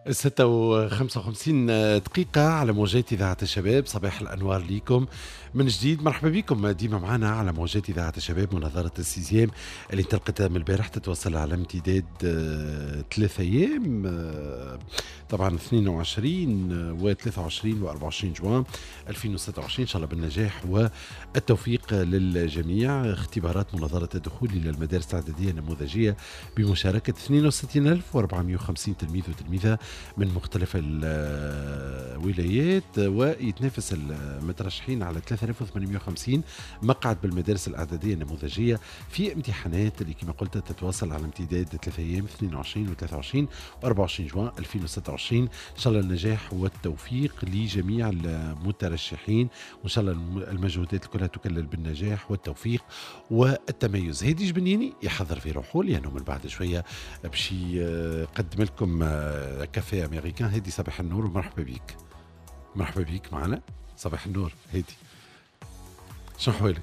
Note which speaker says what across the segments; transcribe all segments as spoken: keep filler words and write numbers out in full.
Speaker 1: ستة وخمسة وخمسين دقيقة على موجات إذاعة الشباب. صباح الأنوار ليكم من جديد، مرحبا بكم ديما معنا على موجات إذاعة الشباب. مناظرة ال sixième اللي انطلقت من البارح تتواصل على امتداد ثلاثة أيام، طبعا اثنين وعشرين وثلاثة وعشرين وأربعة وعشرين جوان ألفين وستة وعشرين. إن شاء الله بالنجاح والتوفيق للجميع. اختبارات مناظرة الدخول إلى المدارس الإعدادية النموذجية بمشاركة اثنين وستين ألف وأربعمئة وخمسين تلميذ وتلميذة من مختلف الولايات، ويتنافس المترشحين على ثلاثة آلاف وثمانمئة وخمسين مقعد بالمدارس الإعدادية النموذجية في امتحانات اللي كما قلت تتواصل على امتداد ثلاثة أيام، اثنين وعشرين وثلاثة وعشرين وأربعة وعشرين جوان ألفين وستة وعشرين. إن شاء الله النجاح والتوفيق لجميع المترشحين، وإن شاء الله المجهودات كلها تكلل بالنجاح والتوفيق والتميز. هادي جبنيني يحضر في روحه لأنه من بعد شوية باش يقدم لكم café américain. هادي صباح النور ومرحبا بك. مرحبا بك معنا. صباح النور هادي، شنو حوالك؟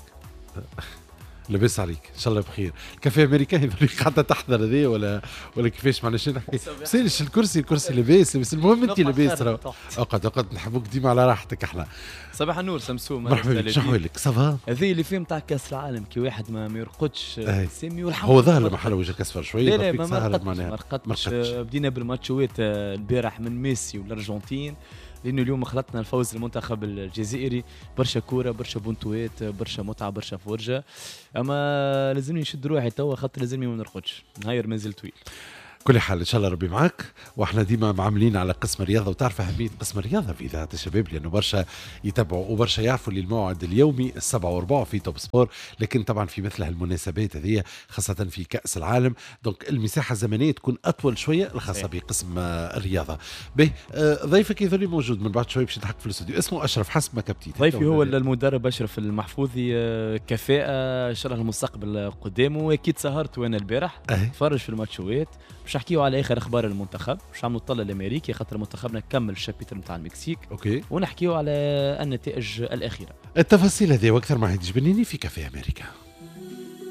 Speaker 1: لاباس عليك؟ ان شاء الله بخير. ال café américain يظل قاعدة تحضر هذه ولا ولا كيفاش؟ معناش نحكي سالش الكرسي، الكرسي لاباس، بس المهم انت لاباس. اقعد اقعد، نحبوك ديما على راحتك. احنا
Speaker 2: صباح النور سمسوم،
Speaker 1: مرحبا بك. شنو حوالك؟ ça va؟
Speaker 2: هذه اللي فيه نتاع كاس العالم كي واحد ما يرقدش سامي،
Speaker 1: والحمد هو ظهر محل وجهك اصفر شوية.
Speaker 2: لا لا ما رقدتش. بدينا بالماتشوات البارح من ميسي والارجنتين، لانه اليوم خلطنا الفوز المنتخب الجزائري. برشا كورة، برشا بونتوات، برشا متعه، برشا فرجه. اما لازمني نشد روحي توا خاطر لازمني ما نرقدش، نهاير مازال طويل.
Speaker 1: كل حال ان شاء الله ربي معك. واحنا ديما معاملين على قسم الرياضة، وتعرف اهمية قسم الرياضة في اذاعة الشباب، لانه برشا يتابعوا وبرشا يعرفوا اللي الموعد اليومي السبعة وربع في Top Sport، لكن طبعا في مثل هالمناسبات هذه خاصة في كاس العالم donc المساحة الزمنية تكون اطول شوية الخاصة بقسم الرياضة. به ضيفك يظل موجود من بعد شوية باش يضحك في الاستوديو، اسمه اشرف حسب ما كبتيت.
Speaker 2: ضيفي هو المدرب اشرف المحفوظي، كفاءة ان شاء الله المستقبل قدامه. واكيد سهرت وانا البارح تفرج في الماتشوات باش نحكيو على اخر اخبار المنتخب، باش نعملوا الطله الامريكي خاطر منتخبنا كمل ال chapitre نتاع المكسيك.
Speaker 1: OK،
Speaker 2: ونحكيو على النتائج الاخيرة.
Speaker 1: التفاصيل هذه واكثر مع هادي جبنيني في café américain.